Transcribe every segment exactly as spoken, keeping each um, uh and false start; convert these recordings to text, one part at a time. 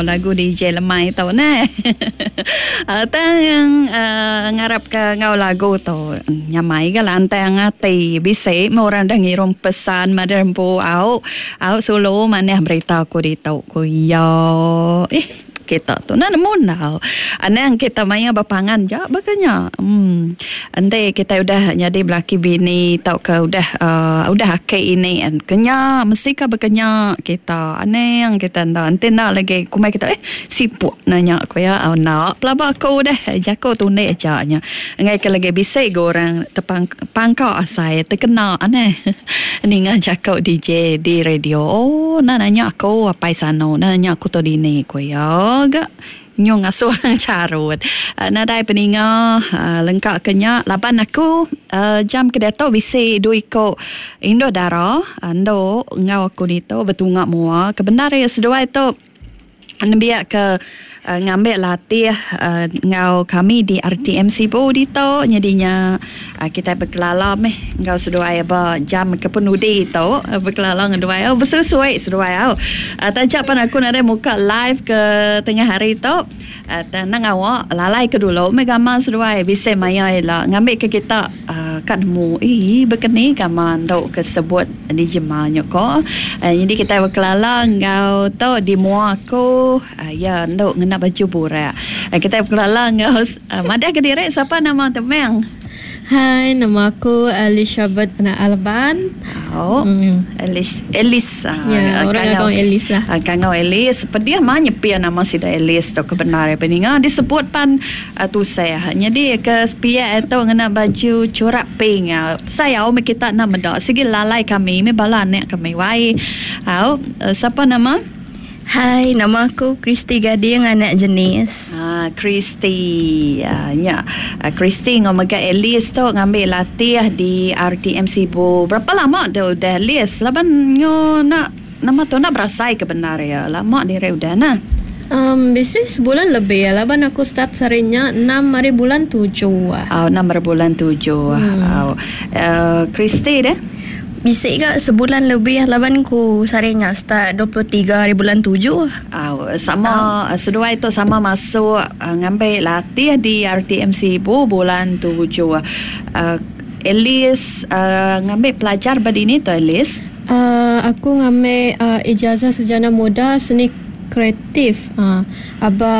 Lagu D J lemai tu ne. Tang uh, ngarap ke ngau lagu tu nyamai ga lantang ati bisi orang dah ngirum pesan maderempu au au sulu manah berita aku ditu ku ya. Eh kita tu nak nemu nau. Anang kita maya berpangan je bakanya. Hmm. Ente kita udah jadi belaki bini tau ke udah uh, udah akik ini an kenya mesti ka berkenya kita. Anang kita nda ente nak lagi kumai kita eh sipuk nanya aku ya. Oh nak pelaba aku dah jako tunde aja nya. Ngai ke lagi bisik go orang tepang pangka asai terkena aneh. Ninga jako D J di radio. Oh nak nanya aku apai sano, nak nanya aku to dini ku ya. Agak nyung asuh carut. Uh, nadai peninga uh, lengkap kenya laban aku uh, jam ke dato bisi dua iko indo dara ando ngau aku dito betungak mua kebenar ya seduai tu nembiak ke uh, ngambil latih uh, ngau kami di R T M Sibu dito jadinya uh, kita berkelala meh ngau seduai ba jam ke penudi tu uh, berkelala dengan duai oh bersesuai seduai au uh, tajak pan aku nadai muka live ke tengah hari tu uh, tenang awak lalai ke dulu meh gambar seduai bisa maya ila ngambil ke kita uh, kat nemu eh berkeni gambar ndok ke sebut di jemanya ko uh, jadi kita berkelala ngau tu di mua aku uh, ya ndok ngena baju burak. Uh, kita berkelala ngau uh, madah ke direk siapa nama temeng? Hai, nama aku Elizabeth anak Alban. Oh, mm. Elis, Elis. Ya, orang kangau Elis lah. Kangau Elis. Pedih mah nyepi nama sida Elis tu kebenar ya peninga disebut pan uh, tu saya. Jadi ke sepia itu ngena baju corak pink. Saya umi kita nak medak sigi lalai kami, mi bala anak kami wai. Au, uh, siapa nama? Hai, nama aku Christy Gading, anak jenis. Ah, Christy. Ah, ya. Ah, Christy ngau mega Elis tu ngambil latih di R T M Sibu. Berapa lama tu udah Elis? Laban nyo nak nama tu nak berasai ke benar ya. Lama dire udah nah. Um, bisa sebulan lebih ya. Laban aku start sarinya enam hari bulan tujuh. Oh, enam hari bulan tujuh. Hmm. Oh. Uh, Christy deh. Bisik ke sebulan lebih laban ku sarinya start dua puluh tiga hari bulan tujuh. Oh, sama oh. Seduai tu sama masuk uh, ngambil latih di R T M Sibu bulan tujuh. Uh, Elis uh, ngambil pelajar berdini tu Elis? Uh, aku ngambil uh, ijazah sarjana muda seni kreatif uh, aba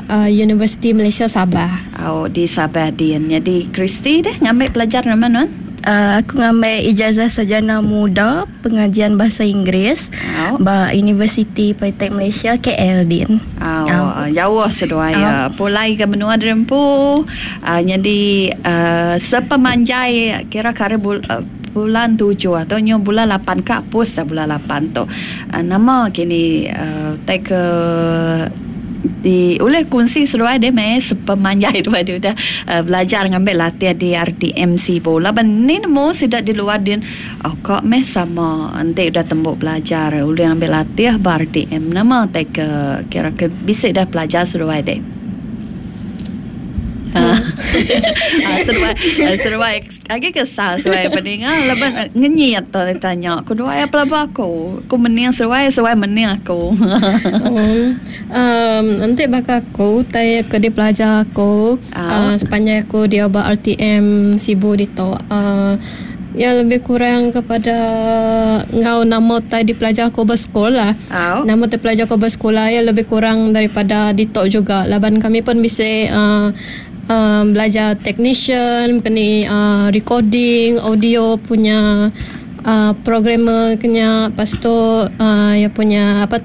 uh, Universiti Malaysia Sabah. Oh, di Sabah din. Jadi Christy deh ngambil pelajar nama nuan? Uh, aku ngambil ijazah sarjana muda pengajian bahasa Inggeris oh. ba Universiti Politeknik Malaysia K L din. Oh, oh. Jauh seduai oh. Ya. Pulai ke benua Derempu. Uh, jadi uh, sepemanjai kira-kira bul, uh, bulan tujuh atau nyo bulan lapan kak pus bulan lapan tu. Uh, nama kini uh, take uh, di oleh kunci seluai dia meh sepemanjai tu dia dah uh, belajar ngambil latihan di R T M Sibu. Laban ni nemu sidak di luar din oh kok meh sama nanti udah tembok belajar oleh ambil latihan ba R T M nama take uh, kira ke bisik dah belajar seluai dia. Ah, seruai, seruai. Agi kesal seruai peninga laban ngenyit tu ditanya. Aku dua apa laba aku. Aku mening seruai, seruai mening aku. um, um, nanti bakal aku tay ke di pelajar aku uh, sepanjang aku dia ba R T M Sibu dito. Uh, ya lebih kurang kepada ngau nama tay di pelajar aku bersekolah. Oh. Nama tay pelajar aku bersekolah ya lebih kurang daripada ditok juga. Laban kami pun bisa uh, um, belajar technician, kena uh, recording, audio punya uh, programmer kena, lepas tu uh, ya punya apa tu